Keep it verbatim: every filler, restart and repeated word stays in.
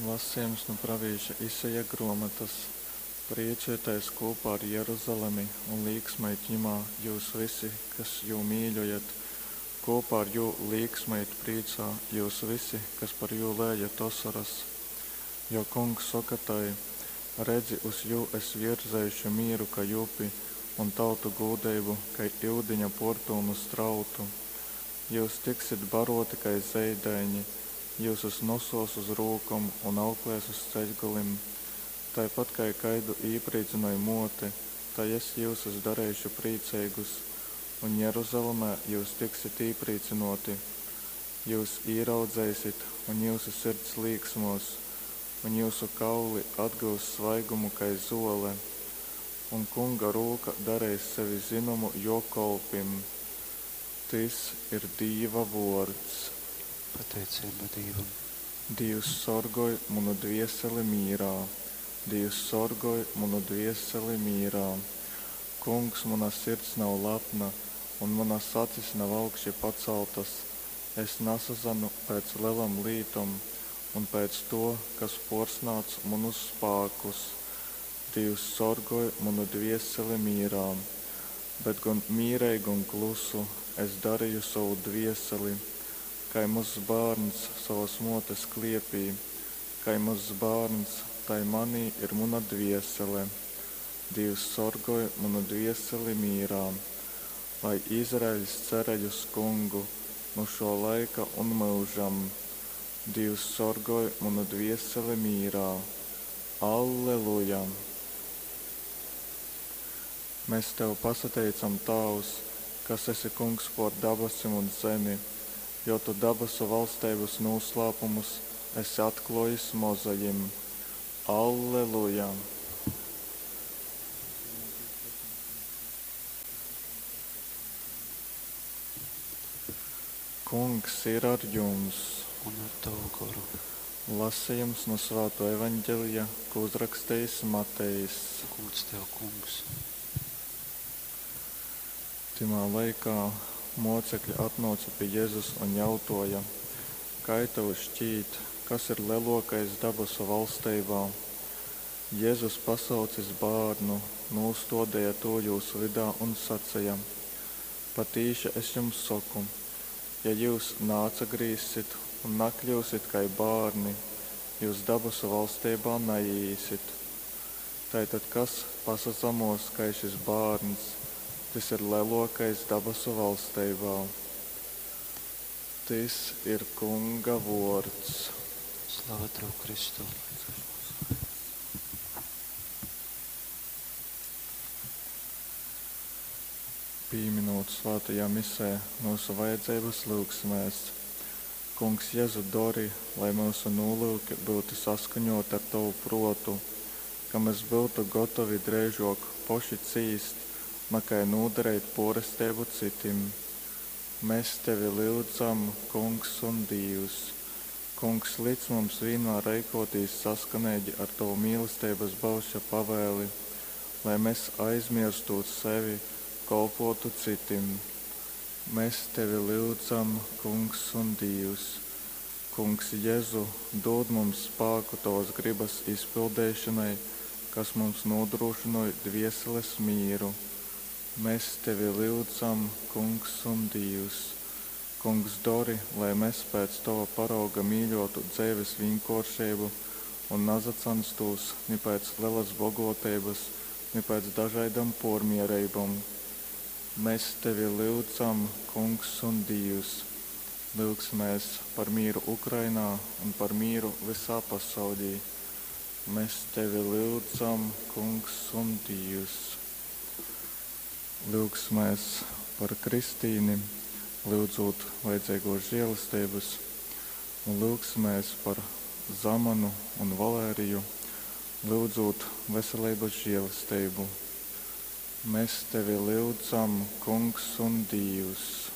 Lasejums nu pravīša Isaja gruomotas. Priecojieties kopā ar Jeruzalemi un līksmojit jimā jūs visi, kas jū mīļojat. Kopā ar jū līksmojit prīcā jūs visi, kas par jū lējat osoras. Jo kungs soka tai: redzi, uz jū es virzeišu mīru kai upi un tautu gūdeibu kai iudiņa puorpylnu strautu. Jyus tiksit baroti kai zeidaiņi, jyusus nosuos uz rūkom un auklēs uz ceļgolim. Taipat kai kaidu īprīcynoj muote, tai es jyusus dareišu prīceigus, un Jeruzalemē jyus tiksit īprīcynōti. Jyus īraudzeisit, un jyusu sirds līksmōs, un jyusu kauli atgyus svaigumu kai zuole. Un Kunga rūka dareis sevi zynomu jō kolpim. Tys ir Dīva vuords. Pateiceiba Dīvam. Dīvs sorgoj munu dvieseli mīrā, Dīvs sorgoj munu dvieseli mīrā. Kungs, muna sirds nav lepna, un munas acis nav augši pacaltas, es nasazanu pēc lelom lītom un pēc tuo, kas puorsnādz munus spākus. Dīvs sorgoj munu dvieseli mīrā, bet gon mīreigu un klusu es dareju sovu dvieseli, kai mozs bārns sovas muotes kliepī, kai mozs bārns, tai manī ir muna dviesele. Dīvs sorgoj munu dvieseli mīrā. Lai Izraeļs cerej uz Kungu nu šō laika un myužam. Dīvs sorgoj munu dvieseli mīrā. Alleluja! Mēs Tev pasateicam, Tāvs, kas esi Kungs puor dabasim un zemi, jo Tu dabasu valsteibys nūslāpumus esi atkluojis mozajim. Alleluja! Kungs ir ar jums! Un ar tavu goru. Lasījums no Svāto evaņģelija, ko uzrakstījis Matejs. Gūds tev, Kungs. Tymā laikā mocekļi atnōca pi Jezus un jautoja: Kai tev šķīt, kas ir lelōkais dabasu valsteibā? Jezus, pasaucis bārnu, nūstōdeja tū jūs vydā un saceja: Patīši es jums soku, ja jyus naatsagrīzsit un nakļyusit kai bārni, jyus dabasu valsteibā naīīsit. Tātad, kas pasazamos kai šis bārns, tys ir lelōkais dabasu valsteibā. Tys ir Kunga vuords. Slava tev, Kristu. Pīminūt svātajā misē myusu vajadzeibas, lyugsimēs. Kungs Jezu, dori, lai myusu nūlyuki byutu saskaņōti ar Tovu prōtu, ka mes byutu gotovi dreižōk poši cīst, nakai nūdareit pōresteibu cytim. Mes Tevi lyudzam, Kungs un Dīvs. Kungs, lic mums vīnmār reikōtīs saskaneigi ar Tovu mīlesteibas baušļa pavēli, lai mes, aizmierstūt sevi, kolpotu cytim. Mes Tevi lyudzam, Kungs un Dīvs. Kungs Jezu, dūd mums spāku Tovas grybas izpildeišonai, kas mums nūdrūšynoj dvieseles mīru. Mes Tevi lyudzam, Kungs un Dīvs. Kungs, dori, lai mes pēc Tova parauga mīļōtu dzeives vīnkōršeibu un nasacanstūs ni pēc lelas bogoteibas, ni pēc dažaidom pōrmiereibom. Mes Tevi lyudzam, Kungs un Dīvs. Lyugsimēs par mīru Ukrainā un par mīru vysā pasaulī. Mēs Tevi lyudzam, Kungs un Dīvs. Lyugsimēs par Kristīni, lyudzūt vajadzeigos žēlesteibas, un lyugsimēs par Zamanu un Valēriju, lyudzūt veseleibas žēlesteibu. Mēs Tevi lyudzam, Kungs un Dīvs.